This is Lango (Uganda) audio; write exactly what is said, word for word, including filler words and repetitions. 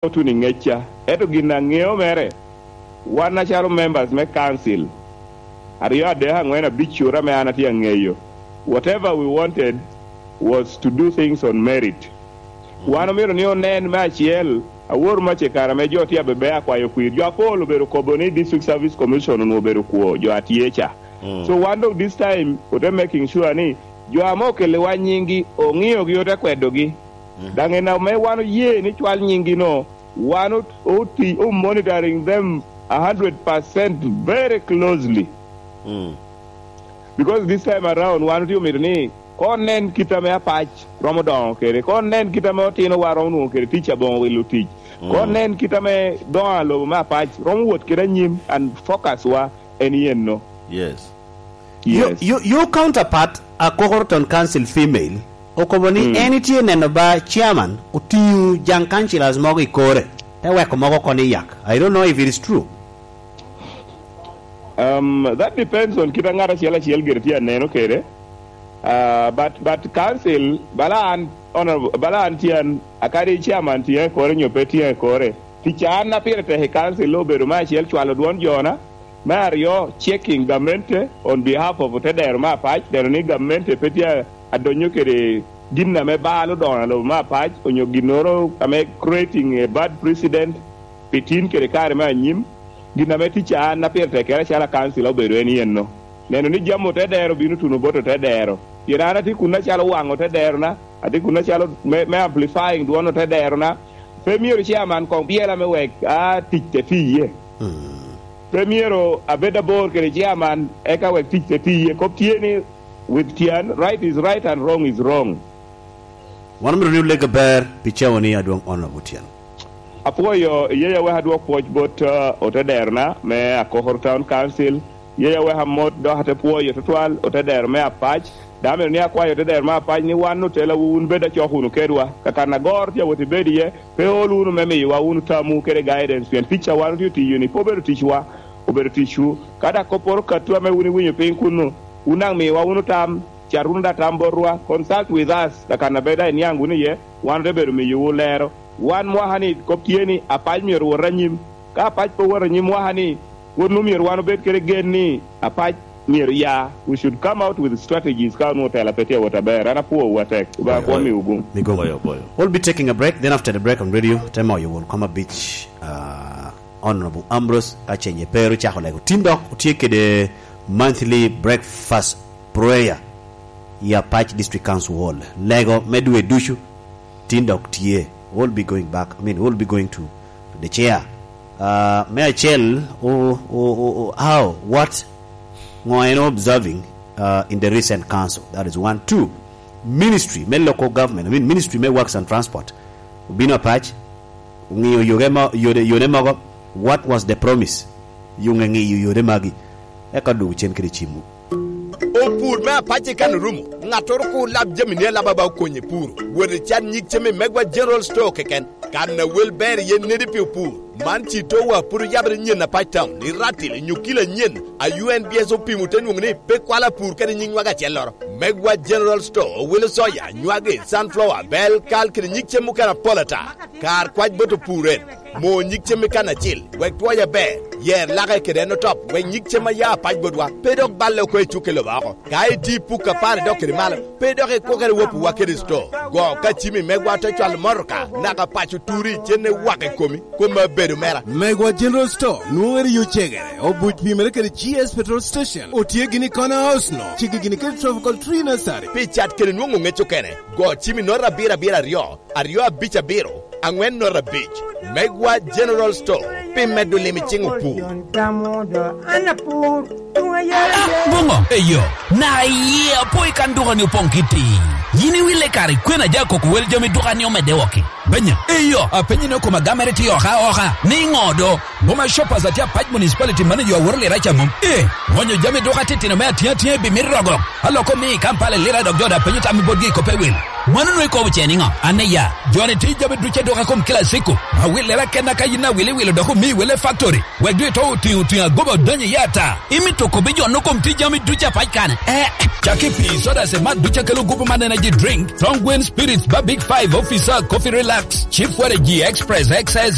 otuno i ŋecca. Ento gin aŋeo mere, wan acalo members me council, aryo, adek, aŋwen, abic, cura ame an atye aŋeyo, whatever we wanted was to do things on merit. Wan omyero ni onen me acel, awor mac i kare ame jo tye abebe akwayo kwir. Jo apol obedo kobo ni District Service Commission onwoŋo obedo kwo, jo atye ca. Mm. So wan dok this time, ote making sure ni jo ame okelliwa nyinggi, oŋiogi, ote kwedogi. Mm. Daŋ en ame wan oye ni cwal nyinggi no, wan ot-, oti-, o monitoring them a hundred percent very closely. Mm. Because this time around, wan otye omito ni, ko nen kit ame apac romo doŋo kede, ko nen kit ame otinowa romo nwoŋo kede tic aboŋo wilo tic, ko Mm. nen kit ame doŋo a lobo me apac romo wot kede anyim, and focus wa en yen no. Yes. Your, Yes. your, your counterpart, a Kokoroton Council female, okobo ni Mm. en itye neno ba chairman otiŋo jaŋ councillors mogo i kore, te weko mogo oko ni yak. I don't know if it is true. Um, that depends on kit a ŋat acel acel gire tye aneno kede. Uh, but, but council, bala an, honorable, bala an tye an, akadi chairman tye i kore nyo pe tye i kore, tic an a pire tek i council obedo me acel cwalo dwon jona, me aryo checking gamente on behalf of otedero me apac, neno ni gamente pe tye adonyo kede gin ame balo doŋo a lobo me apac, onyo ginnoro ame creating a bad precedent pi tin kede kare me anyim. Gin ame tic an a pire tek kede acalo akansila obedo en yen no, neno ni jami otedero bino tuno bot otedero. Pien an atye kun acalo waŋ otederona, atye kun acalo me, me amplifying dwon otederona. Pe myero chairman koŋ byela me wek a tic te tiye. Mm. Pe myero abed abor kede chairman eka wek tic te tiye. Kop tye ni, with tyen, right is right and wrong is wrong. Wan omito ni oleg aber pi cawa ni, adwoŋ Honorable Otyeno. Apwoyo, iye awek adwok pwoc bot, uh, otederona me Akokoro Town Council. Iye awek amot dok ate pwoyo tutwal otedero me apac. Daŋ amito ni akwayo otedero me apac ni wan otelawu wun bed acok wunu kedwa. Kakan agoro tye awot i bed iye, pe ol wunu me miyowa wunu tamwu kede guidance, pien tic a wan otye tiyo-ni pe obedo ticwa, obedo ticwu. Ka dak kopporo katwu ame wun iwinyo piny kunnu, wun daŋ miwa wunu tam, cat wunu daŋ tam botwa, consult with us, kakan a bed daŋ iniaŋ wunu iye, wan ote bedo miyowu lero. Wan mwaka ni kop tye ni apac myero wot anyim. Ka apac pe owoto anyim mwaka ni, wot nu myero wan obed kede gen ni apac myero ya. We should come out with strategies ka onwoŋo tela pe tye awot aber. An apwowu atek. Obaŋa kwo miwu gum. Migomo. Boyo, boyo. We'll be taking a break. Then after the break on radio, te moyo won koma beach, uh, Honorable Ambrose, ka cenye pe ru cako lego. Tin dok otye kede monthly breakfast prayer i Apac District Council Hall. Lego me dwe ducu tin dok tye. We'll be going back. I mean, we'll be going to the chair. Uh, me acel, o, o, o, o, how, what, ŋo en observing, uh, in the recent council? That is one. Two, ministry me local government, I mean, ministry me works and transport. Obino apac, oŋiyo yoge mo-, yode, yode mogo. What was the promise? Yuŋ eŋiyo yode magi. Eka dwogo cen kede cimwu. Opur me apac i kan orumo, ŋattoro kur lab jami ni alaba ba okonye puro. Wot i can nyig cem i Megwa General Store keken. Kan a wel ber iye nedi pi opur. Man ci towa pud oyabere nyen apac town, i Ratil, nyo kilo anyen, a U N B S opimo te nwoŋo ni pe kwalo apur kede nyig nywag acelloro. Megwa General Store owilo soya, nywagi, sunflower, bel, kal kede nyig cem mukene apol ata. Kar kwac bot opur en, mo nyig cem i kan acil, wek twoye aber, yer lake kede en otop, wek nyig cem a ya apac botwa, pe dok balle oko i cukke lobo oko. Ka iti puk apar idok kede malo, pe dok ikwokere wopiwa kede sto. Go ka cimi megwa te cwalo motoka, naka paco turi, cenne wak i komi, kom abedo mera. Megwa General Store, nwoŋere yo cegere, obuc pimere kede G S Petrol Station, otye gini i Corner House no, cigi gini kede Tropical Tree Nursery. Pi cat kede nwoŋo ŋec okene, go cimi note abiro abiro aryo, aryo abic abiro, aŋwen note abic. Megwa General Store, pi medo lim i ciŋ opur. Ah, ah, boŋo? Eyo, na iye apo i kan duka ni opoŋ kiti. Yin iwille kare kwena ja koko wel jami duka ni omedde wok i. Benya, eyo, apenyi ni okoma gamere ti oka oka. Ni ŋo do? Boma Shoppers atye Apac Municipality manager aworo lira ca mom. Eh, ŋonyo jami duka titino me atiŋ atiŋ ebi mit rogo. Aloko mi i Kampala lira dok jo da penyo tam i botgi i kope wil. Mano nwoŋo ikobo ce niŋo? An iya, joni tye jami ducu aduka kom Classico. Awillere akenna ka yin awilo iwilo dok omi wele factory. Wek doŋ ito otiŋo otiŋo agoba odonyo iye ata. Imito kobbi jo no kom tye jami ducu apac kane? Eh, cak i pii, soda, cemat ducu akelo gupu man energy drink, Tongue Spirits, ba Big Five, Officer, Coffee Relax, Chief Waragi, Express, X S,